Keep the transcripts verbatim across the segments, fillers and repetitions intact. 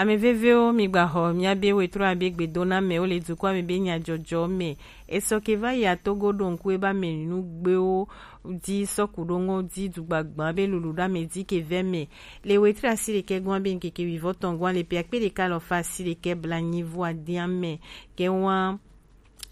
Ame vevewo, migbaxɔ miabe wetro abe gbedoname wo le dukɔa me be nyajɔjɔ me. Esɔ ke va yi Togo ɖo ŋku ebe amenugbewo di sɔku ɖo ŋɔ di dugbagba be lulu ɖo ame di ke vɛ me. Le wetri asi ɖekɛ gɔn be ŋkeke wivɔtɔn gɔn le pe akpe ɖeka alɔfa asi ɖekɛ blanyi vɔ adiame ke wan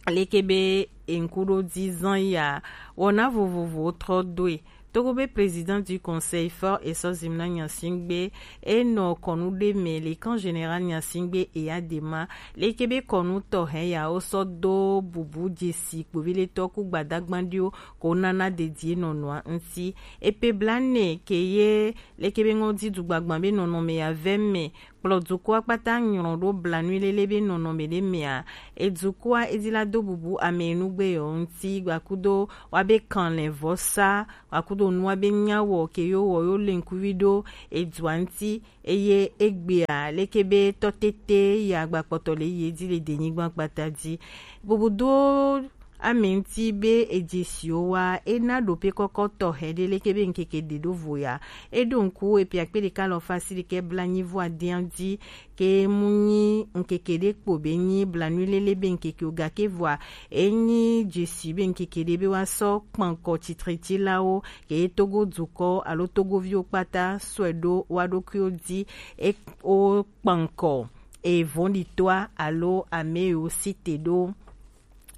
leke be eŋkuɖo di zan ya wɔna vovovowo trɔ doe. Togo be président du conseil fort esɔ zimna nyasingbe enɔ kɔnu ɖe me le camp général nyasingbe eya dema leke be kɔnu tɔhɛ ya wo sɔ do bubu dzesi kpoviletɔ ku gbadagba ɖiwo ko nana dedie nɔnɔa ŋti. Epe blane ke ye leke be ŋɔ di dugbagba be nɔnɔme ya vɛ me kplɔ dukɔa kpata nyrɔ ɖo blanui lele be nɔnɔme ɖe mea. Edukɔa edi la do bubu ame enugbe yɔ ŋti gbakudo wa be kanlɛ vɔsa gbakudo nua be nyawɔ ke yo wɔ yo le ŋkuvi ɖo edua ŋti. Eye egbea leke be tɔtete ya gbakpɔtɔ le ye di le denyigba kpata di bubu do ame ŋti be edzesiwo wa ena ɖope kɔkɔ tɔhɛ ɖe leke be ŋkeke ɖe ɖo vo ya. Eɖo ŋku epe akpe ɖeka alɔfa asi ɖekɛ blanyi vɔ adian di ke mu nyi ŋkeke ɖe kpo be nyi blanui lele be ŋkeke o gake vɔa enyi dzesi be ŋkeke ɖe be wa sɔ kpankɔ tsitretilawo ke Togo dukɔ alo Togoviwo kpata sɔe ɖo wa ɖokuiwo di e wo kpankɔ evɔnɖitɔa alo ame yiwo site ɖo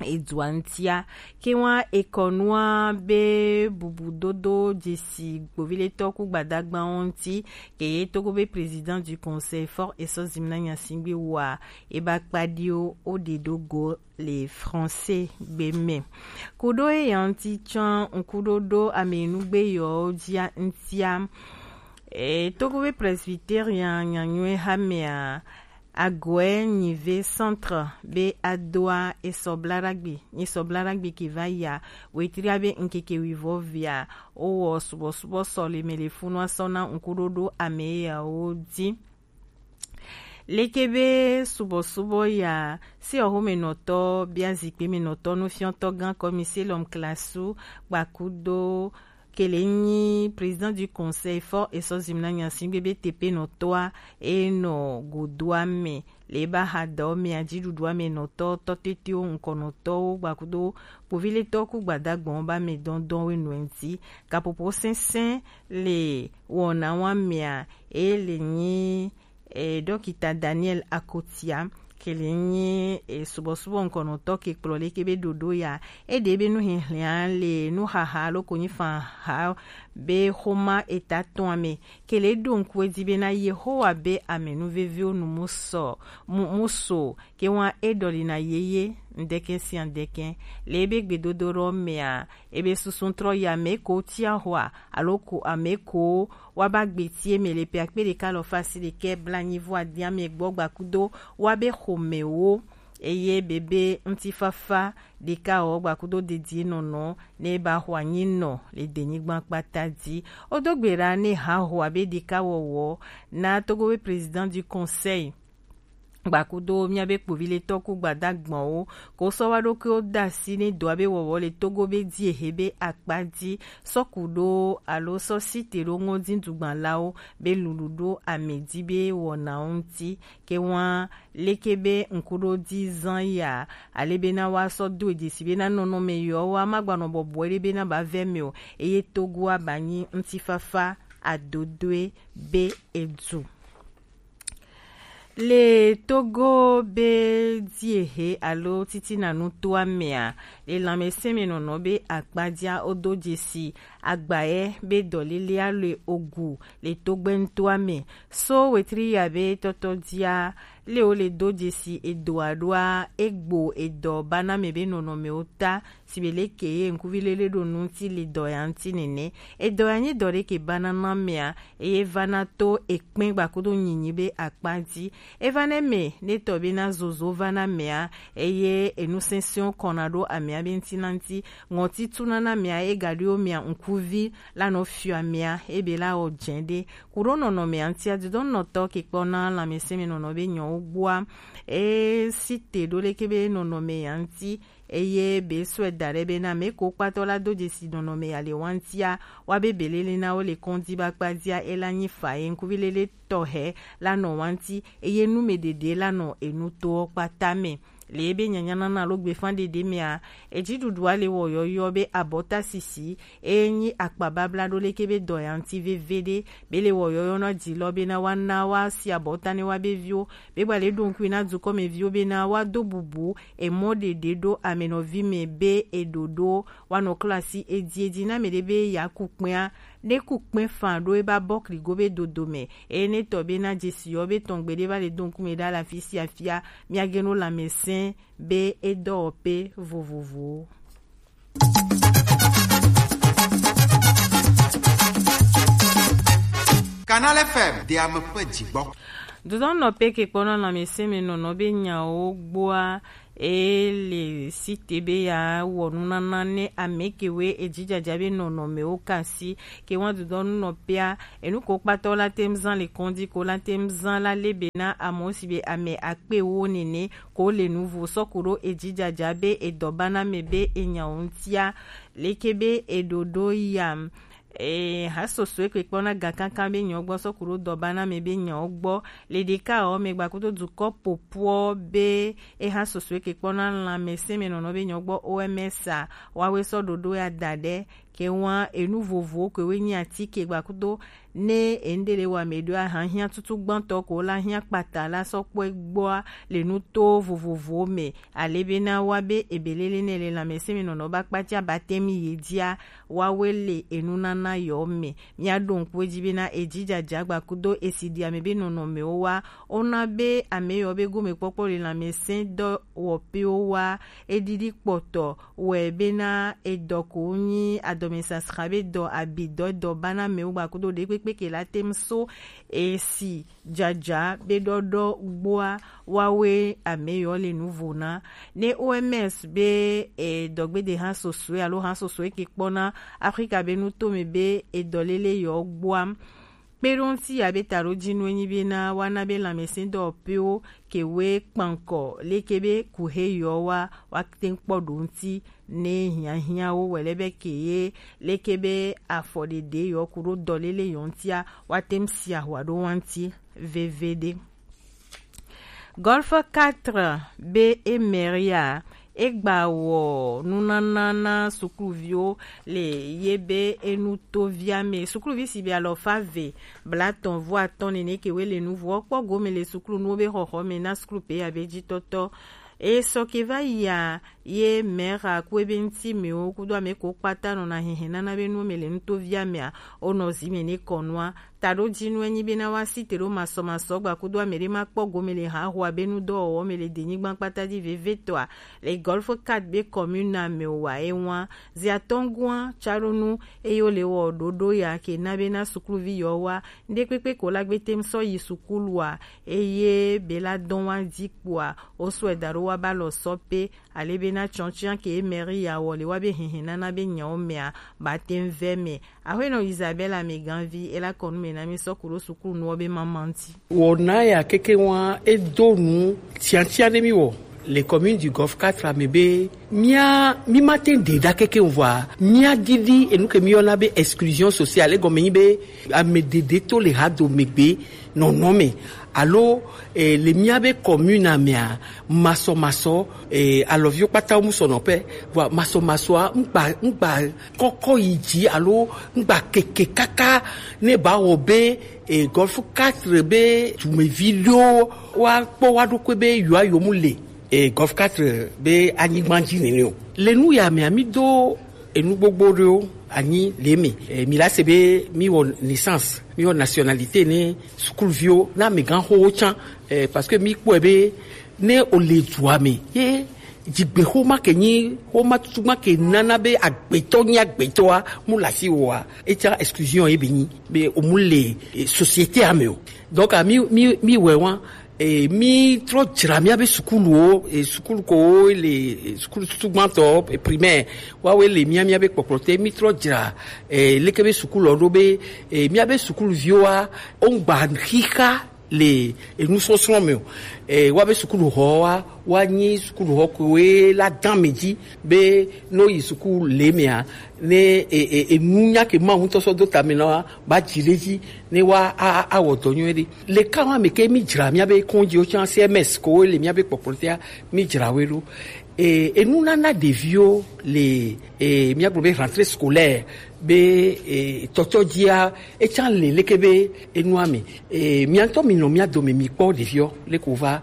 edua ŋtia. Ke wa ekɔnua be bubudodo dzesi gboviletɔ ku gbadagbawo ŋti ke ye Togo be président du conseil fort esɔ zimna nyasingbe wa eba kpaɖiwo wo ɖe ɖo go le français gbe me. Kuɖo eya ŋti tsɔ ŋkuɖoɖo ame enugbe yɔwo dzia ŋtia. E, Togo be presbyterien nyanyuie hamea Agoe nyive centre be adoa esɔ blaɖagbe nyisɔ blaɖagbe ke va yia wetria be ŋkeke wivɔ via wowɔ subɔsubɔ sɔ le me le funua sɔ na ŋkuɖoɖo ame yawo di. Leke be subɔsubɔ ya si ɔxomenɔtɔ bia zikpe menɔtɔ nufiɔtɔ gã kɔmise lɔm klasu gbakudo kele nyi président du conseil fort esɔ zimna nyasingbe be tepenɔtɔa enɔ godoa me le ba ha dɔ me adziɖuɖua me nɔtɔ tɔtetewo ŋkɔnɔtɔwo gbakudo kpoviletɔ ku gbadagbɔn ba me dɔndɔn we nɔ ŋti kapopo sɛnsɛn le wɔna wa mea e le nyi e, dɔkita Daniel Akotia kele nyi e, subɔsubɔ ŋkɔnɔtɔ ke kplɔ leke be ɖoɖo ya eɖe be nuhihlɛa le nuhaha alo konyifaha be xoma eta tɔa me kele ɖo ŋku edi be na Yehowa be ame nuveviwo nu mu sɔ mu, mu so ke wa eɖɔli na yeye ŋdɛkɛ sia ŋdɛkɛ le ebe gbedodo ɖɔ mea ebe susu trɔ yi ame ko tia hoa alo ko ame ko wa ba gbe tie me le pe akpe ɖeka alɔfa asi ɖekɛ blanyi vɔ adiame gbɔ gbakudo wa be xɔmewo eye bebe ŋutifafa ɖeka wɔ gbakudo dedie nɔnɔ ne ba xɔ anyi nɔ le denyigba kpata di. Wodo gbe ɖa ne ha xɔ abe ɖeka wɔwɔ na Togo be président du conseil gbakudo miabe kpoviletɔ ku gbadagbɔnwo ko sɔ wa ɖokuiwo da asi ne dɔa be wɔwɔ le Togo be di ehe be akpa di sɔ ku ɖo alo sɔ site ɖo ŋɔdidugbanlawo be lulu ɖo ame di be wɔnawo ŋti ke wa leke be ŋkuɖo di zan ya ale be na wa sɔ do edzesi be na nɔnɔme yɔ wa ma gbanɔ bɔbɔe ɖe be na ba vɛ me o eye Togo aba nyi ŋutifafa adodoe be edu. Le Togo be dziehe alo titina nutoa mea, le lãmesẽmenɔnɔ be akpadzia wodo dzesi agbayɛ be dɔlélea le ogu le togbɛntoa me. So wetri ya be tɔtɔ dzia le wo le do dzesi edoa ɖoa egbo edɔ bana me be nɔnɔmewo ta si be leke ye ŋkuvi lele ɖo nu ŋuti le dɔ ya ŋuti nene. Edɔ ya nyi dɔ ɖe ke bana na mea eye vana to ekpɛn gbakudo nyinyi be akpa dzi. Eva ne me ne tɔ be na zozo va na mea eye enu sɛnsɛnwo kɔna ɖo amea be ŋuti na ŋuti. Ŋɔti tuna na mea ega ɖo mea ŋkuvi la nɔ fiɔ amea ebe la wɔ dze ɖe. Ku ɖo nɔnɔmea ŋutia didɔnnɔtɔ ke kpɔna lãmesẽmenɔnɔ be nyɔwo gbɔa e si te ɖo leke be nɔnɔme ya ŋuti eye be sɔe da ɖe bena mɛ ko kpatɔ la do dzesi nɔnɔme ya le wantia, wa be belele na wo le kɔndi ba kpadia e la nyi fa ye ŋkuvi lele tɔhe la nɔ wanti, eye nu me ɖeɖe la nɔ enu to kpata me. Le ebe nyanyanana alo gbefan ɖeɖe mea, edziɖuɖua le wɔ yɔyɔ be abɔta sisi, eye nyi akpa babla ɖo leke be dɔ ya ŋuti veve ɖe, be le wɔ yɔyɔ na dilɔ bena wa na wa si abɔta ne wa be viwo, be gba le ɖo ŋkui na dukɔmeviwo bena wa do bubu emɔ ɖeɖe ɖo amenɔvi me be eɖoɖo wa nɔ klɔ asi edi edi na me ɖe be ya ku kpɛa, ne ku kpɛ fan ɖo eba bɔ kligo be dodo me, eye ne tɔ be na dzesi yɔ be tɔn gbeɖe va le do ŋkume ɖa le afi sia afia, miage no lanmɛsɛn be edɔwɔpe vovovowo. Canal F M, de ame ƒe dzigbɔ. Dodɔnɔ pe ke kpɔna lanmɛsɛn me nɔnɔ be nyawo gbɔa, e le site be ya wɔ nunana ne ame kewe edzidzadza be nɔnɔmewo kasi ke wa dodɔnu nɔ pea, enu ko kpatɔ la tem zan le kɔndi ko la tem zan la le be na amewo si be ame akpe wo nene ko le nuvo sɔku ɖo edzidzadza be edɔ bana me be enyawo ŋutia, leke be eɖoɖo yam. E, ha sosoe ke kpɔna ga kankan be nyawo gbɔ sɔku ɖo dɔ bana me be nyawo gbɔ. Le ɖeka ɔ me gbakudo dukɔ popoɔ be e ha sosoe ke kpɔna lanmɛsɛn me nɔnɔ be nyawo gbɔ O M S a, wawe sɔ ɖoɖo ya da ɖe ke wa enu vovowo ke we nyi atike gbakudo ne eŋɖe le wa me ɖo ahan hiã tutu gbãtɔ ko la hiã kpata la sɔ kpɔe gbɔa le nuto vovovowo me. Ale be na wa be ebelele ne le lanmɛsɛn me nɔnɔ ba kpatia ba temi ye dia, wawe le enunana yɔ me. Mia ɖo ŋku edzi be na edzidzadza gbakudo esi ɖi ame be nɔnɔmewo wa, ona be ame yɔ be gomekpɔkpɔ le lanmɛsɛn dɔwɔpewo wa, eɖiɖi kpɔtɔ wɛ be na edɔ ko nyi adɔmesasra be dɔ abi dɔ edɔ bana mewo gbakudo ɖe kpekpe ke la tem so esi dzadza be ɖɔɖɔ gbɔa, wawe ame yɔ le nuvo na. Ne O M S be e dɔgbede ha sosoe alo ha sosoe ke kpɔna Afrika be nutome be edɔlele yɔ gbɔa, kpeɖoŋti ya be taɖo dzi nu enyi be na wa na be lanmɛsɛn dɔwɔpewo ke we kpankɔ leke be kuhe yɔ wa, wa te ŋkpɔ ɖo ŋti ne hiahiãwo wɛ lɛ be ke ye leke be afɔ ɖeɖe yɔ ku ɖo dɔlele yɔ ŋtia, wa te ŋ si ahwa ɖo wa ŋti veve ɖe. Golf quatre be e mɛria e gba wɔ nunana na sukluviwo le ye be enu to via me. Sukluvi si be alɔfa ve blatɔn vo atɔn nene ke we le nuvo kpɔ gome le suklu nuwo be xɔxɔ me na suklu pe ya be dzi tɔtɔ. E sɔ ke va yia ye mɛra ku ebe ŋti mewo kudo ame ko kpata nɔna hehe nana be nuwo me le nuto via mea, o nɔ zi me ne kɔnua. Taɖo dzi nu enyi be na wa si te ɖo masɔmasɔ gba kudo ame ɖe ma kpɔ gome le ha hoa be nu dɔwɔwɔ me le denyigba kpata dzi vevetɔa, le Golf quatre be commune me wa e wa. Zi atɔngua tsa ɖo nu eye wo le wɔ ɖoɖo ya ke na be na sukluvi yɔ wa, ŋɖe kpekpe ko la gbe tem sɔ yi sukulua, eye be la dɔn wa dzi kpoa, wo sɔe da ɖo wa ba lɔ sɔ pe, ale be na tsɔntsia ke mɛri ya wɔ le wa be hehe nana be nyawo mea, ba tem vɛ me. Aƒenɔ Isabella Meganvi, e la kɔ nu me na mi sɔ ku ɖo sukulu nuwo be mama ŋti. Wɔna ya keke wa e do nu tiatia ne mi wɔ le commune du Golfe quatre me be mia mi ma te de da keke vɔa mia didi enu ke mi yɔna be exclusion sociale, egɔme nyi be ame dede to le ha do megbe nɔnɔ me, alo eh, le mia be commune mea, masɔmasɔ eh, alɔviwo kpata mu sɔ nɔƒe. Vɔa masɔmasɔa ŋgba ŋgba kɔkɔ yi dzi alo ŋgba keke kaka ne ba wɔ be eh, Golfe quatre be dumevi ɖewo wa kpɔ wa ɖokui be yewoa yewo mu le eh, Golfe quatre be anyigba dzi nene o. Le nu ya mea mi do enu gbogbo ɖewo anyi le eme. Eh, mi la se be mi wɔ naissance, mi wɔ nationalité ne sukuluviwo na amegãxowo tsã. Eh, parce que mi kpɔe be ne o le dua me ye dzigbexoma ke nyi xoma tutu ma ke nana be agbetɔ nyi agbetɔa mu le asi wɔa, etsã exclusion ye be nyi be o mu le eh, société ame o. Donc ah, mi mi mi wɛ wa eh, mi trɔ dzra mia be sukuluwo eh, sukulu ko le eh, sukulu tutu gbãtɔ eh, primaire wawe le mia mia be kpɔkplɔ te mi trɔ dzra eh, leke be sukulu ɖo be eh, mia be sukuluviwoa o ŋgba xixa le enusɔsrɔ̃ me o. E, woabe sukuɖuxɔ wa, woanyi sukuɖuxɔ koe la dã mi dzi be ne woyi suku le mea, ne e, e, enunya ke Mawu ŋutɔ sɔ do ta mi na wa, ba dzi ɖe dzi ne wa a, a, awɔ dɔ nyuie ɖe. Le ka wa me ke mi dzra miabe kɔndziwo tsã, C M S kowo le miabe kpɔkplɔtea, mi dzra woe ɖo. E, enunana ɖeviwo le, e, míagblɔ be rentrée scolaire be, e, tɔtɔ dzia, etsã le leke be enua me. E, mia ŋutɔ mi nɔ mia dome mi kpɔ ɖeviwo leke wova.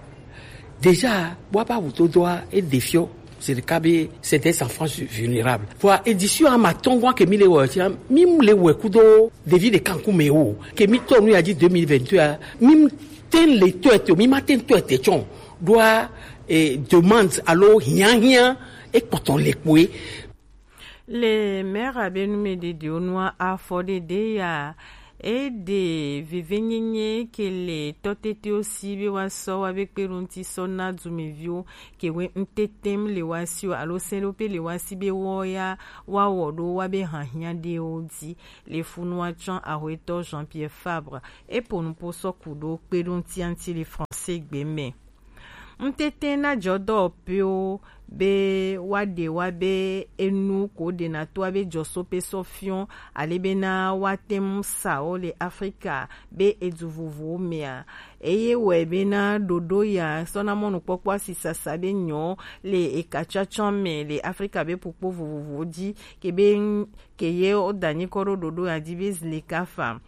Déjà, woabe awudodoa, e ɖeviwo, c'est le cas be, c'est des enfants vulnérables. Vɔa, édition ame atɔ̃ gɔ̃ ke mi le wɔ, tia, mi le wɔ kudo ɖevi ɖeka ŋkume o. Ke mi tɔ nu ya dzi deux mille vingt-deux a, mi te le tɔe te o, mi ma te tɔe te tsɔ. Ɖoa, e, demande alo hiahiã ekpɔtɔ le kpoe. Le maire be numeɖeɖewo nua afɔ ɖeɖe ya, e ɖe vevenyenye ke le tɔtetewo si be woasɔ woabe kpeɖoŋuti sɔ na dumeviwo ke we ŋtetem le woasi o alo sɛɖoƒe le woasi be woya woawɔ ɖo woabe hiahiã ɖewo dzi. Le funua tsɔ ahoetɔ Jean-Pierre Fabre, e po nupo sɔ ku ɖo kpeɖoŋutia ŋuti le français gbe me. Ŋtete na jɔdɔwɔƒewo be woaɖe woabe enu ko ɖena to woabe jɔsope sɔ fiɔ, ale bena woate ŋu sa wo le Afrika be edu vovovowo mea. Eye wɔe bena ɖoɖo ya sɔ na mɔnukpɔkpɔ asisasa be nyɔ le ekatsɔtsɔ me le Afrika be ƒukpo vovovowo dzi, ke be ŋ-, ke ye woda nyi kɔ ɖo ɖoɖo ya dzi be Zlekafa.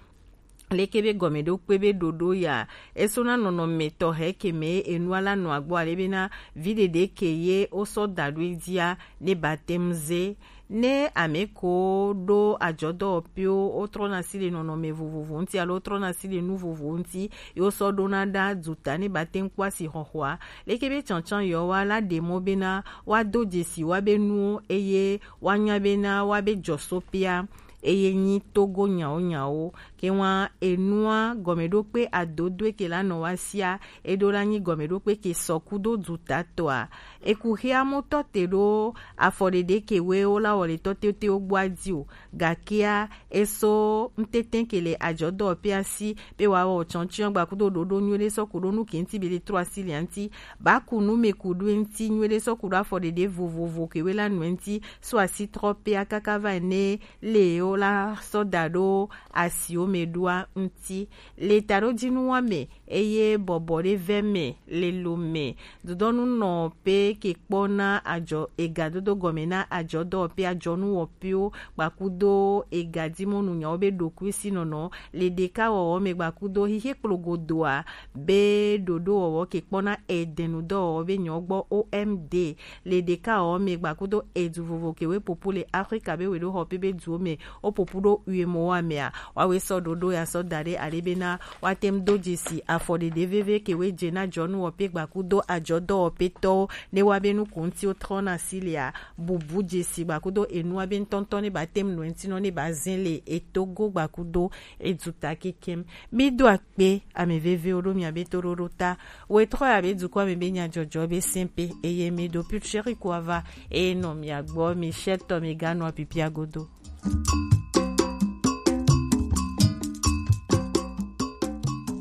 Leke be gɔmeɖokpe be ɖoɖo ya, esɔna nɔnɔme tɔxɛ ke me enua la nɔ agbɔ ale bena vi ɖeɖe ke ye wosɔ da ɖo edzia ne ba te ŋu ze. Ne ame ko ɖo ajɔdɔwɔƒewo wotrɔna asi le nɔnɔme vovovo ŋuti alo wotrɔna asi le nu vovovo ŋuti, ye wosɔ ɖona ɖa duta ne ba te ŋu kpɔ asixɔxɔa. Leke be tsantsan yewoa la ɖe mɔ bena woado dzesi woabe nuwo eye woanya bena woabe jɔsoƒea eye nyi Togo nyawo nyawo. Ke wa enua gɔmeɖokpe adodoe ke la nɔ wa sia, eɖo la nyi gɔmeɖokpe ke sɔ kudo dutatɔa. Eku xia mutɔ te ɖo afɔ ɖeɖe ke we wo la wɔ le tɔ tetewo gbɔ adi o. Gakea eso ŋtete ke le ajɔdɔwɔƒea si be wa wɔ tsɔntsɔn gba kudo ɖoɖo nyuie ɖe sɔ ku ɖo nu ke ŋuti be le trɔ asi le ŋuti. Ba ku nu me ku ɖo ŋuti nyuie ɖe sɔ ku ɖo afɔ ɖeɖe vovovo ke we la nu ŋuti so asi trɔ pea kaka va ne le wo la sɔ da ɖo asiwo me ɖoa ŋuti. Le taɖodzinuwa me eye bɔbɔ ɖe vɛ me le lo me. Dodɔnu nɔ pe ke kpɔ na ajɔ ega dodo gɔme na ajɔ dɔwɔƒe ajɔnu wɔƒewo gbakudo ega dimɔnu nyawo be ɖokuisi nɔnɔ le ɖeka wɔwɔ me gbakudo xixe kplogodoa be ɖoɖo wɔwɔ ke kpɔ na edenu dɔwɔwɔ be nyɔ gbɔ O M D le ɖeka wɔwɔ me gbakudo edu vovo ke we popo le Afrika be we ɖo xɔ pe be duwo me wo popo ɖo uye mo wa mea. Woawoe sɔ ɖoɖo ya sɔ da ɖe ale bena woate ŋu do dzesi afɔɖeɖe veve ke woe dze na jɔnuwɔƒe gbakudo ajɔdɔwɔƒetɔwo ne woabe nuku ŋuti wotrɔna asi lea, bubu dzesi gbakudo enua be ŋutɔŋutɔ ne bate ŋu nɔ eŋuti nɔ ne bazẽ le etogo gbakudo eduta kekem. Mido akpe ame vevewo ɖo miabe toɖoɖo ta. Wetrɔ ya be dukɔ me be nyadzɔdzɔ be sɛnpe eye mi ɖo putsheri kua va eye nɔ mia gbɔ mi shɛtɔ mi ganɔ apipia godo.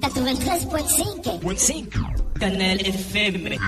Quatre-vingt-treize point cinq. Point cinq. Kanal F M.